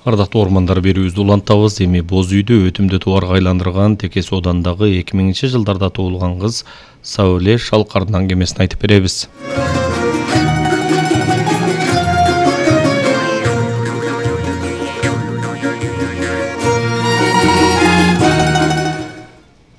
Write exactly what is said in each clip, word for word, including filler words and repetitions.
Ардактуу ормандар берүүбүздү улантабыз. Эми Боз үйдү өтүмдүү тубарга айландырган Теке Соодандагы эки миңинчи жылдарда туулган кыз Сауле Шалкардын аңгемесин айтып беребиз.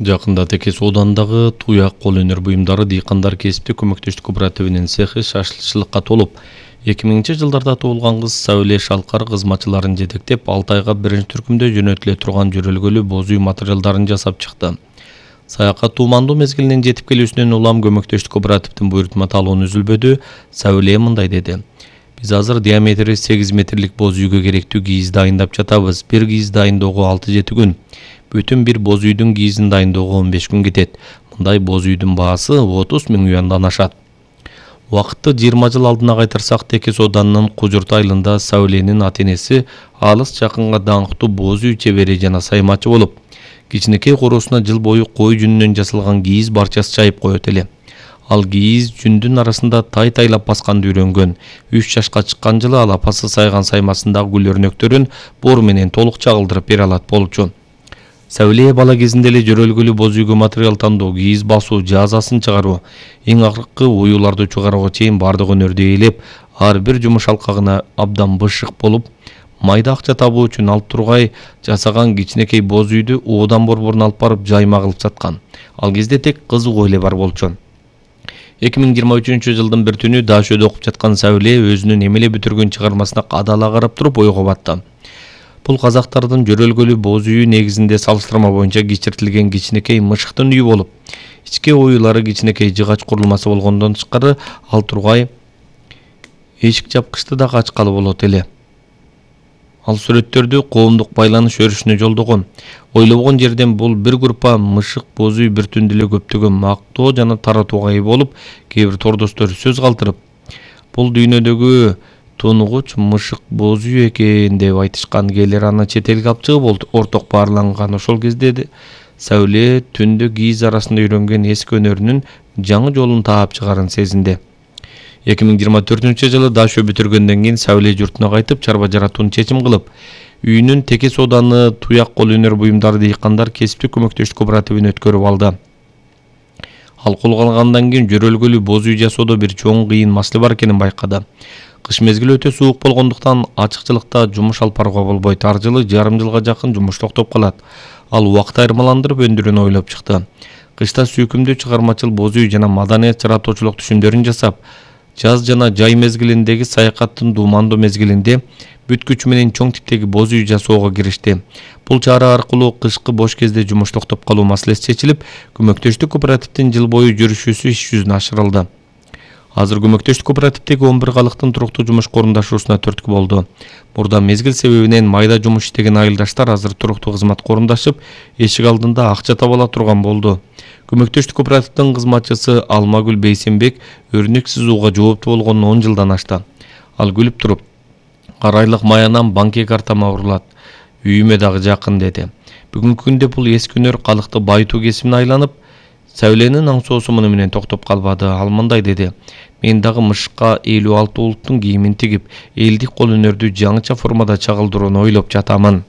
Жакында Теке Соодандагы туяк кол өнөр буюмдары дыйкандар кесиптик көмөктөштүк кооперативинин цехи шашлыкка толуп, эки миңинчи жылдарда туулган кыз Сауле Шалкар кызматчыларын жетектеп, алты айга биринчи түркүмдө жөнөтүлө турган жөрөлгөлүү боз үй материалдарын жасап чыкты. Саякат туумандуу мезгилинин жетип келүүсүнөн улам көмөктөштүк кооперативдин буйрутма талоonu үзүлбөдү. Сауле мындай деди: Биз азыр диаметри сегиз метрлик боз үйгө керектүү кийиз дайындап жатабыз. Бир кийиз дайындоого алты жети күн. Бүтүн бир боз үйдүн кийизин дайындоого он беш күн кетет. Мындай боз үйдүн баасы отуз миң юандан ашат. Убакытты жыйырма жыл алдына кайтарсак, Теке Сооданын Кужурт айылында Сауленин ата-энеси алыс жакынга даңктуу боз үй чебери жана саймачы болуп, кичинекей короосуна жыл бою кой жүнүнөн жасалган кийиз барчасы чайып коет эле. Ал кийиз жүндүн арасында тай-тайлап басканды үйрөнгөн. үч жашка чыккан жылы ал апасы сайган саймасындагы гүл өрнөктөрүн бор менен толук чагылдырып бере алат болчу. Сауле бала кезинде эле жөрөлгөлүү боз үйгө материал тандоо, кийиз басуу, жазасын чыгаруу, эң акыркы уюуларды чыгарууга чейин бардык өнөрдү ээлеп, ар бир жумуш алкагына абдан бышык болуп, майда акча табуу үчүн алып тургай жасаган кичинекей боз үйдү оодан борборуна алып барып жайма кылып саткан. Ал кезде тек кызыгуу эле бар болчу. эки миң жыйырма үчүнчү жылдын бир түнү Дашөдө окуп жаткан Сауле өзүнүн эмеле бүтүргөн чыгармасына кадала карап туруп ойго батты. Бул казактардын жөрөлгөлүү боз үйү негизинде салыштырма боюнча кичиртилген кичинекей мышыктын үйү болуп, ички оюлары кичинекей жыгач курулмасы болгондон тышкары ал тургай эшик жапкычты да ачкалы болот эле. Ал сүрөттөрдү коомдук байланыш өрүшүнө жолдогон. Ойлобогон жерден бул бир группа мышык боз үй бир түндө эле көптөгөн мактоо жана таратууга ээ болуп, кээ бир тордоштор сөз калтырып, бул дүйнөдөгү тунугуч мышык боз үй экен деп айтышкан, кээлер аны чет элге алып чыгып орток баарланган. Ошол кезде Сауле түндө кийиз арасында үйрөнгөн эски өнөрүнүн жаңы жолун таап чыгарын сезинди. эки миң жыйырма төртүнчү жылы Дашө бүтүргөндөн кийин Сауле журтуна кайтып, чарба жаратууну чечим кылып, үйүнүн Теке Сооданы туяк кол өнөр буюмдары дыйкандар кесиптик көмөктөштүк кооперативине өткөрүп алды. Ал колго алгандан кийин жөрөлгөлүү боз үй жасоодо бир чоң кыйын маселе бар экенин байкады. Кыш мезгили өтө суук болгондуктан ачыкчылыкта жумуш алып барууга болбойт. Ар жылы жарым жылга жакын жумуш токтоп калат. Ал убакыт айырмаландырып өндүрүүнү ойлоп чыкты. Кышта сүйкүмдүү чыгармачыл боз үй жана маданият жаратуучулук түшүмдөрүн жасап, жаз жана жай мезгилиндеги саякаттын дуумандуу мезгилинде бүткүч менен чоң типтеги боз үй жасоого киришти. Бул чара аркылуу кышкы бош кезде жумуш токтоп калуу маселеси чечилип, көмөктөштүк кооперативдин жыл бою жүрүшүүсү иш жүзүнө ашырылды. Азыр көмөктөштүк кооперативдеги он бир калыктын туруктуу жумушка орундашуусуна түрткү болду. Мурда мезгил себебинен майда жумуш иштеген айылдаштар азыр туруктуу кызматка орундашып, эшик алдында акча таба ала турган болду. Көмөктөштүк кооперативдин кызматчысы Алмагүл Бейсенбек өрнөк сызууга жооптуу болгонуна он жылдан ашты. Ал күлүп туруп, ар айлык маянам банки картама урулат, үйүмө дагы жакын деди. Бүгүнкү күндө бул эски өнөр калыкты байытуу кесибине айланып, Сауленин аң соосу муну менен токтоп калбады. Ал мындай деди: Мен дагы мышыкка элүү алты улуттун кийимин тигип, элдик кол өнөрдү жаңыча формада чагылдырууну ойлоп жатамын.